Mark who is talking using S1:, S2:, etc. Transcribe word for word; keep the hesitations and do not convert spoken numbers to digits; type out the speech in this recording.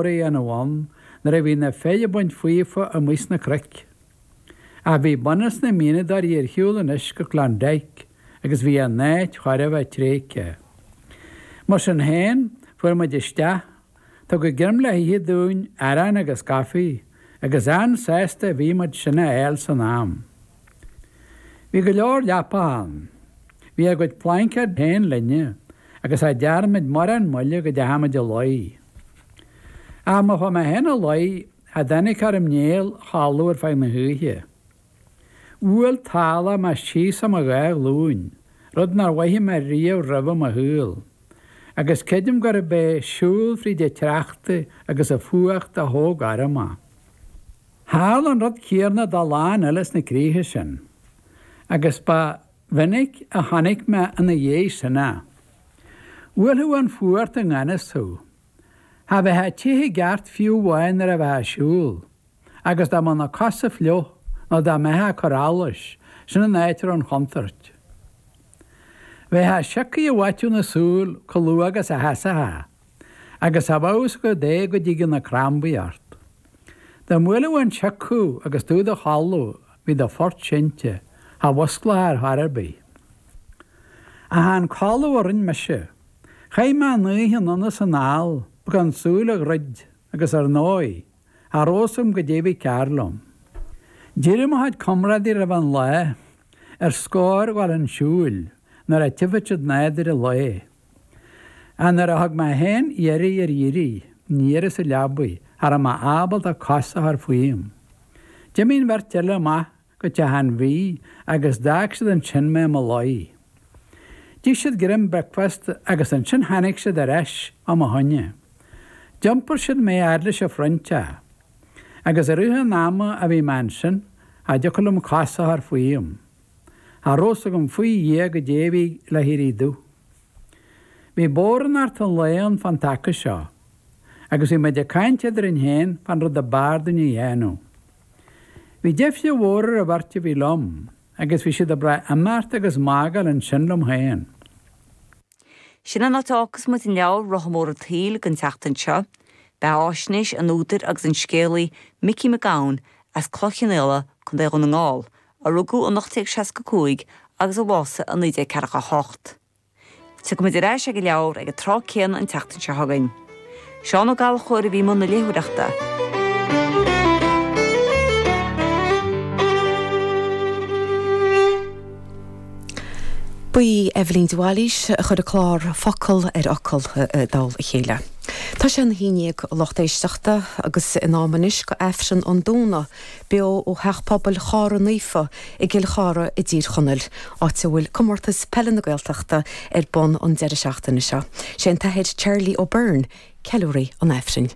S1: a dhéanamh ann nuair a bhí na fir ag baint faofa amuigh sna cnoic. Ach bhí bunús na mianadóirí ar shiúl anois go Klondike agus bhí an áit chóir a bheith tréigthe. Mar sin féin, fuair muid isteach, tugadh greim le hithe dúinn, arán agus caife, agus an-sásta a bhí muid sin a fháil san am. Bhí go leor leapacha ann. Bhí ár gcuid plaincéad féin linne agus cha dtearn muid mórán moille go dteachaigh muid a luí. Ach má chuaigh mé féin a luí, cha dtáinig orm néal a chodladh ar feadh na hoíche. Bhuail tálach mé síos ar mo dhá ghlúin, rud nár mhothaigh mé riamh roimhe i mo shaol, agus creidim gurb é siúl fríd an tsneachta agus an fuacht a thóg orm é. Tharla an rud céanna do a lán eile sna críocha sin, agus ba mhinic a chonaic mé ina dhiaidh sin é. Bhuailfeadh an fuacht i ngan fhios thú. Cha bheifeá te i gceart fiú amháin nuair a bheifeá ag siúl, agus dá mbeadh na cosa fliuch nó dá mbeifeá ag cur allais, sin an áit a raibh an chontúirt. Bheifeá sioctha i bhfaiteadh na súl chomh luath agus a sheasófá, agus cha bheadh fhios agat é go dtigeadh na crambaí ort. Dá mbuailfeadh an sioc thú agus tú i do chodladh, bhí do phort seinnte, cha mhusclófá ar chor ar bith. Ach chan codladh a rinn mise. Chaith mé an oíche anonn is anall gan súil a dhruid agus ar ndóigh, cha raibh fhios agam goidé a bhí cearr liom. D'éirigh mo chuid comrádaí roimh an lá, ar scor a ghabháil chun siúil, nuair a tchífeadh siad nádúr an lae. Ach nuair a thug mé féin iarraidh ar éirí, ní rabhas sa leabaidh, cha raibh mé ábalta cos a chur fúm. D'imigh an bheirt eile amach go teach an bhídh agus d'fhág siad ansin mé i mo luí. D'ith siad greim bricfeasta agus ansin tháinig siad ar ais fá mo choinne. D'iompair siad mé fhad leis an phroinnteach. Agus i rith an ama a bhí mé ansin, cha dtiocfadh liom cos a chur fúm. Cha raibh fhios agam faoi Dhia goidé a bhí le héirí dubh. Bhí bodhránaireacht an lae ann fán taca seo, agus bhí muid ag caint eadrainn féin fán rud ab fhearr dúinn a dhéanamh. Bhí deifre mhór ar an bheirt a bhí liom, agus bhí siad ag brath imeacht agus magáil ansin liom féin.
S2: Sin an áit a fhágfas muid an leabhar Rotha Mór an tSaoil don tseachtain seo. Beathaisnéis an údair agus an scéalaí Micí Mac Gabhann as Cloich Cheann Fhaola, Contae Dhún na nGall, a rugadh in ocht déag seasca cúig agus a bhásaigh i naoi déag ceathracha a hocht. Tiocfaimid ar ais ag an leabhar ag an tráth céanna an tseachtain seo chugainn. Seán Ó Gallchóir a bhí i mbun na léitheoireachta.
S3: Ba í Eibhlín de Bhailís a chuir an clár Focal ar Fhocal i dtoll a chéile. Tá sé ina haon déag a lucht éisteachta agus in am anois go Aifreann an Domhnaigh, beo ó Theach Pobail Chara Naofa i gCill Chartha i dTír Chonaill, áit a bhfuil Comórtas Peile na Gaeltachta ar bun an deireadh seachtaine seo. Sé an tAthair Charlie O'Byrne ceiliúraí an Aifrinn.